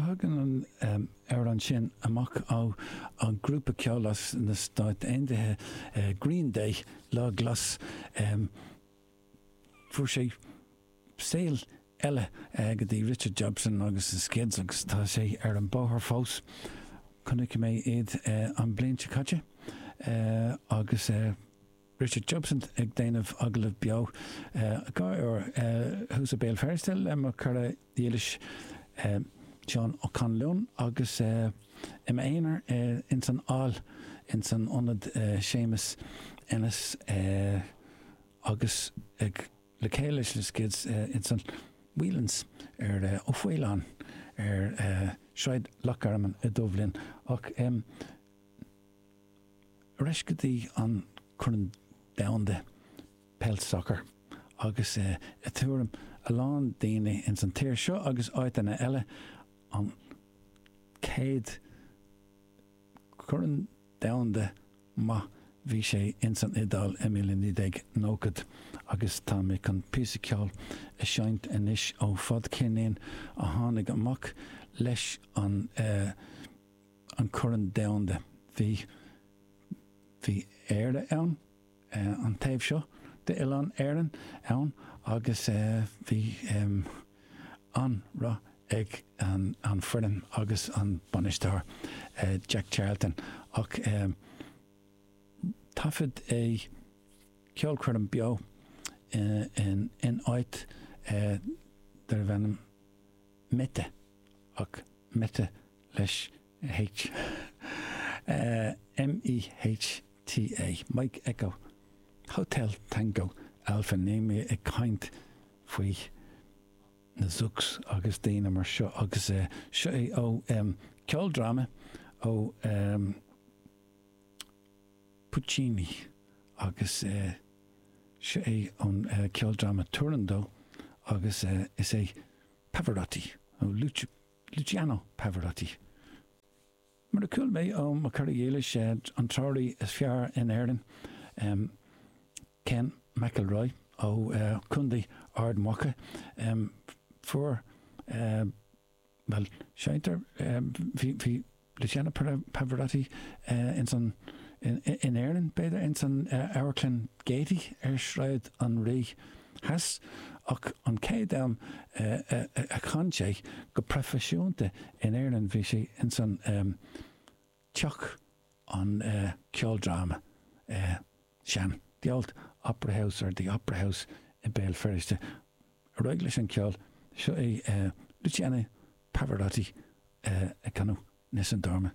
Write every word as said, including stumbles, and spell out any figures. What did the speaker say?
Tagann an amhrán sin amach ó an grúpa ceoil as na Stáit Aontaithe Green Day, Lá Glas. Fuair sé saol eile go dtí Richard Jobson agus the Skids agus tá sé ar an bóthar fós. Chonaic mé iad an bhliain seo caite agus Richard Jobson ag déanamh agallamh beo dhá uair thuas i Béal Feirste le mo chara dílis Seán Ó Conluain agus i m'aonar ins an Aill ins an ionad Séamus Ennis agus ag le chéile leis na Skids ins an Whelan's ar Ó Faoláin ar Sráid Loch Garman i Duibhlinn ach ar ais go dtí an Corn Domhanda Peil Soccer agus i dtuairim a lán daoine ins an tír seo agus áiteanna eile an chéad Chorn Domhanda maith bhí sé ins an Iodáil i míle naoi déag nóchad agus tá mé chun píosa ceoil a seinnt anois ó fadcheirnín a tháinig amach leis an an Corn Domhanda. Bhí bhí Éire ann, an taobh seo d'Oileán Éireann ann agus bhí an-rath ag an an foireann agus an bainisteoir Jack Charlton ach taifead é ceolchoirm beo in in áit darbh ainm Mehta ach Mehta leis H. M-E-H-T-A, Mike Echo Hotel Tango Alpha Níl mé ag caint faoi na Zooks agus daoine mar seo agus seo é ó ceoldráma ó Puccini agus seo é ón ceoldráma Turandot agus is é Pavarotti ó Luciano Pavarotti. Mar a chuala mé ó mo chara dhílis, an treoraí is fearr in Éirinn, Ken McElroy ó Chontae Ard Mhacha, fuair, bhuel, seinntear, bhí Luciano Pavarotti ins an, in Éirinn, b'fhéidir, ins an Amharclann Gaiety ar Shráid an Rí Theas, ach an chéad am a chan sé go proifisiúnta in Éirinn bhí sé ins an Teach an Ceoldráma sean, The Old Opera House or The Opera House i Béal Feirste. Ar aghaidh leis an ceol, seo é Luciano Pavarotti ag canadh Nessun Dorma.